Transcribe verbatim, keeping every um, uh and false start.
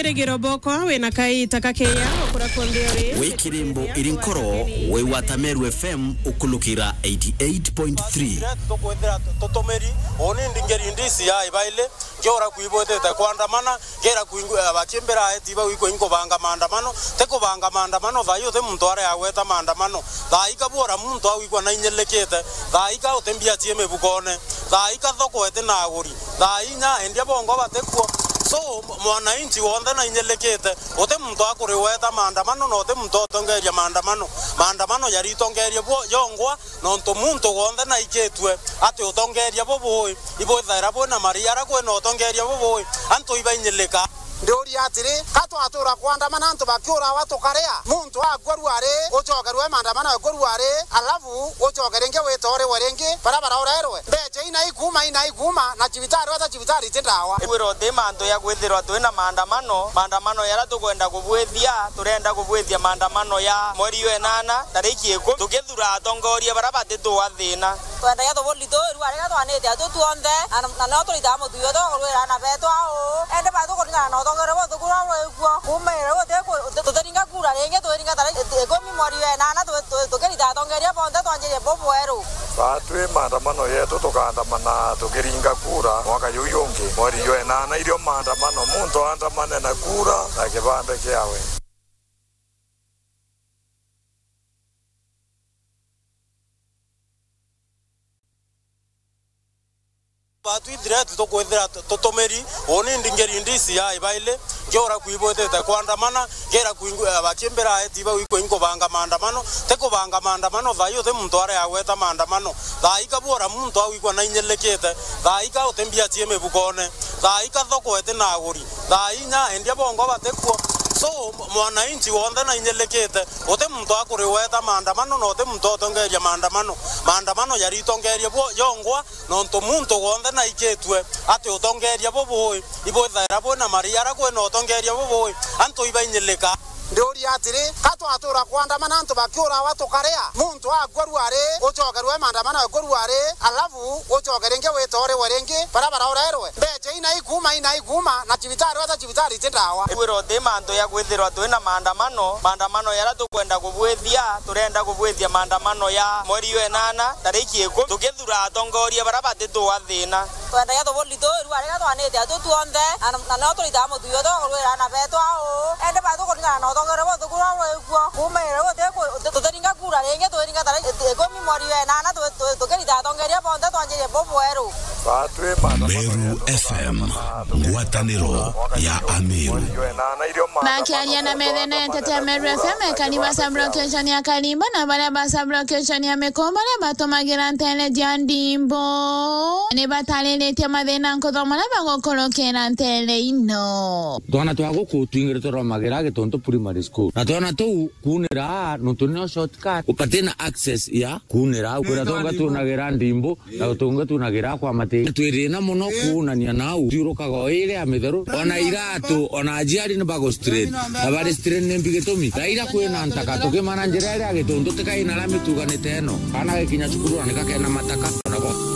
Rigiro bokwa wina kaita kakeya ukura kundi uri. Wi kirimbo iri nkoro, wi wata Meru F M ukulukira eighty eight point three. Tukwithira tutumiri, uni ndingeri ndisi ya ibaili, ngiura kuibwitite kwandamana, ngira kuingu-, abakimbira eti bau ikwa inkubanga maandamano, ti kubanga maandamano, thaa ii uti muntu aria agweta maandamano, thaa ii kabwora muntu au ikwa nainyilikite, thaa ii ka uti mbia cie mibukone, thaa ii ka thoko iti na aguri, thaa inya endia bongo batikuo. So, mwananchi wonthe nainyilikite, uti muntu akuriweta maandamano, na uti muntu utongeria maandamano. Maandamano yaritongerie bwo yongwa, nontu muntu wonthe naikitue ati utongeria bubui, ibwithaira bwina mari ara kwina utongeria bubui, antu ibainyilika. Ndiuria atiri, ka twatura kwandamana antu bakiurawa tukaria? Muntu akua ruari, ucokerwe maandamano ekua ruari, alafu ucoke ringi witorewe ringi, bara barorerwe. Mbecha ina ikuma, ina ikuma, na cibitari, wata cibitari ti ndawa. Igwira uti mantu ya kwithirwa twina maandamano, maandamano yara tukwenda kubwithia, turenda kubwithia maandamano ya mweri jwa inana, tariki ikumi, tukithura atongoria bara batituathina. Twendagia tuburi tu, irua riria twanite atu tuonthe, na, na no turitaga mutugo tukurwira ana betu au. Indi ba tukuringana na utongeria buthuku uria bwikuo. Kuuma riu tuti-, tutiringa kura ringi, twiringa tariki ikumi mweri jwa inana, tu-, tu-, tukirita atongeria bonthe twanjirie bubweru. Batwi maandamano yetu tukaandamana tukiringa kura mwaka juu jungi. Mweri jwa inana irio maandamano, muntu aandamane na kura na kibande kiawe. Batwithire tukwithira tu-, tutumiri, uni ndingeri ndisi ya ibaili, ngiura kuibwitite kwandamana, ngira kuingu-, abakimbira eti bau ikwa inkubanga maandamano, ti kubanga maandamano, thaa ii uti muntu aria agweta maandamano, thaa ii kabwora muntu au ikwa nainyilikite, thaa ii ka uti mbia cie mibukone, thaa ii ka thoko iti na aguri, thaa inya endia bongo batikuo. So, mwananchi wonthe nainyilikite, uti muntu akuriweta maandamano, na uti muntu utongeria maandamano. Maandamano yaritongerie bwo yongwa, nontu muntu wonthe naikitue ati utongeria bubui, ibwithaira bwina mari ara kwina utongeria bubui, antu ibainyilika. Ndiuria atiri, ka twatura kwandamana antu bakiurawa tukaria? Muntu akua ruari, ucokerwe maandamano ekua ruari, alafu ucoke ringi witorewe ringi, bara barorerwe. Mbecha ina ikuma, ina ikuma, na cibitari, wata cibitari ti ndawa. Igwira uti mantu ya kwithirwa twina maandamano, maandamano yara tukwenda kubwithia, turenda kubwithia maandamano ya mweri jwa inana, tariki ikumi, tukithura atongoria bara batituathina. Twendagia tuburi tu, irua riria twanite atu tuonthe, na, na no turitaga mutugo tukurwira ana betu au. Indi ba tukuringana na utongeria buthuku uria bwikuo. Kuuma riu tuti-, tutiringa kura ringi, twiringa tariki ikumi mweri jwa inana, tu-, tu-, tukirita atongeria bonthe twanjirie bubweru. Meru F M, ngwataniro ya Ameru. Makiaria na methene nteto ya Meru F M, ekani ba sub-location ya Karimba na baria ba sub-location ya Mikomba baria batumagira ntere cia ndimbo ni batariritie mathina nkuthoma na bagukurukira ntere ino. Twana twa guku twingire turomagira Gituntu Primary School. Na twana tuu kuunira nontu nio shortcut. Upatina access ya kuunira au. Kwira tonga tunagira ndimbo, na utunga tunagira kwa mati. Twirina muno kuunania nau. Thiurukaga o iri ya mitheru. Ona iratu, ona aciari ni bago strain. Na bari strain ni mbi gitumi. Thaira kwina ntaka, tukimana njira iria Gituntu tikai na lami tuganite ino. Kana gikinya cukuru na nikakena mataka. Nako.